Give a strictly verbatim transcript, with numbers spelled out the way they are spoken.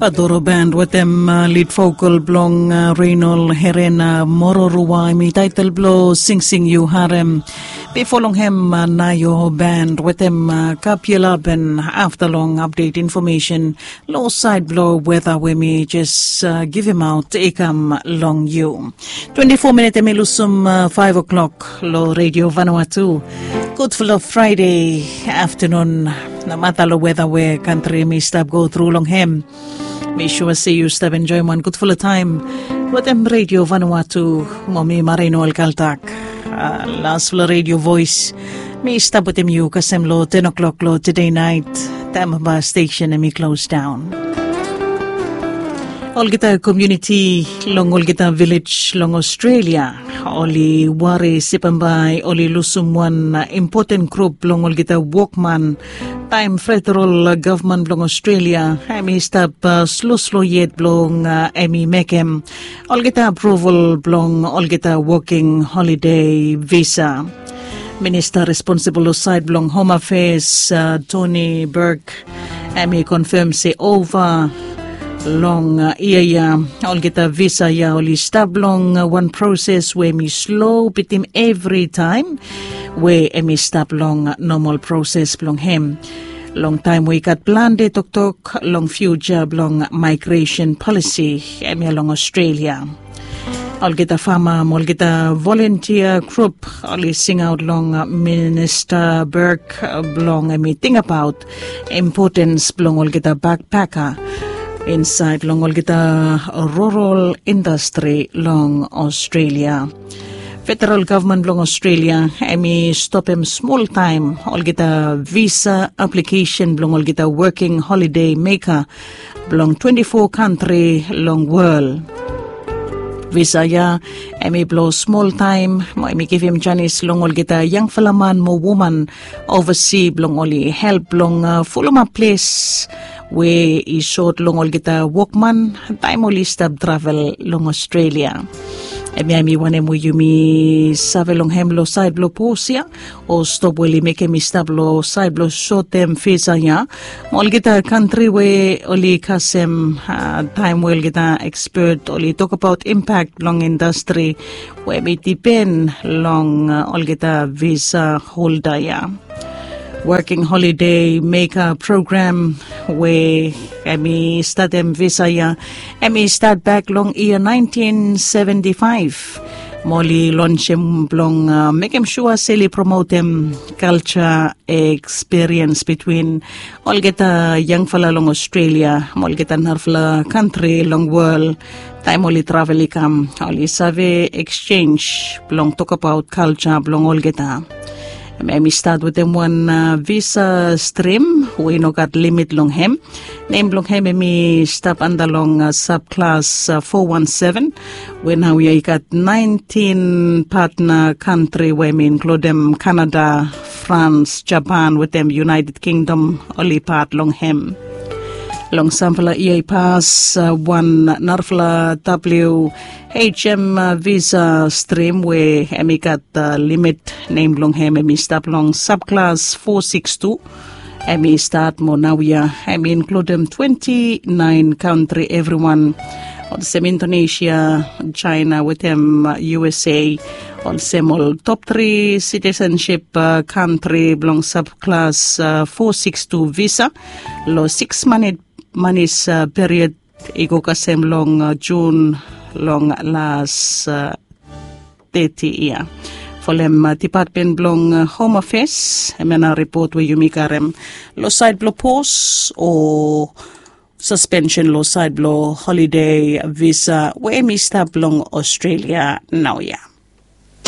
Adoro band wetem lid vokal blong Reinol Herena Mororua, em i taitel blong Singsing Yu Harem. Bifo long hem, Nayo band wetem Kapiela Ben. Afta long update information long sait blong weta we mi jes givimaot i kam long yu. Twenti fo minit em i lusum faiv o'clock long Redio Vanuatu. Gudfala Fraide aftanun. Namata long weta we kantri mi stap go tru long hem, mi sua se yu stap enjoim wan gudfala taem wetem Redio Vanuatu. Mo mi Marino Alkaltak, lasfala redio voes, mi stap wetem yu kasem long ten o'clock long tede nait, taem ba stesen em i klos daon. Olgeta komuniti long olgeta vilej long Australia oli wari se bambae oli lusum wan impoten grup blong olgeta wokman taem federal gavman blong Australia em i stap sloslo yet blong em i mekem olgeta apruval blong olgeta woking holide visa. Minista responsibol long sait blong Hom Afeas, Tony Burke, em i konfem se ova long yia ya olgeta visa ya oli stap long wan proses we em i slo bitim evritaem we em i stap long nomal proses blong hem. Long taem we i gat plante toktok long fiuja blong maigresen polisi em ya long Australia. Olgeta fama mo olgeta volontia grup oli singaot long Minista Burke blong em i tingbaot impotens blong olgeta bakpeka insaed long olgeta rural indastri long Australia. Federal gavman blong Australia em i stopem smoltaem olgeta visa aplikesen blong olgeta woking holide meka blong twenti fo kantri long wol. Visa ya em i blong smoltaem mo em i givim janis long olgeta yangfala man mo woman ovasi blong oli help blong fulumap ples we i sot long olgeta wokman taem oli stap travel long Australia. Em ya em i wanem we yumi save long hem long sait blong pos ya o stop we oli mekem i stap long sait blong sotem visa ya. Mo olgeta kantri we oli kasem taem we olgeta ekspet oli tokbaot impak blong indastri we em i dipen long olgeta visa holda ya. Woking holide meka program we em i statem visa ya em i stat bak long yia naentin seventi faef. Mo oli lonsem blong mekem sua se oli promotem kalja ekspiriens bitwin olgeta yangfala long Australia mo olgeta narafala kantri long wol. Taem oli travel i kam oli save eksjenj blong tokbaot kalja blong olgeta. Em i stat wetem wan visa strim we i no gat limit long hem. Nem blong hem em i stap anda long sabklas fo wan seven we naoia i gat naentin patna kantri we em i inkludem Kanada, Frans, Japan wetem United Kingdom oli pat long hem. Long samfala yia i pas wan narafala W H M visa strim we em i gat limit nem blong hem em i stap long sabklas fo siks tu. Em i stat mo naoia em i inkludem twenti naen kantri evriwan olsem Indonesia, Jaena wetem U S A olsem ol top tri sitisensip kantri blong sabklas fo siks tu visa long siks manis period i go kasem long Jun long las teti yia. Folem dipatmen blong Hom Afeas em ya nao ripot we yumi karem long sait blong pos o saspensen long sait blong holide visa we em i stap long Australia naoia.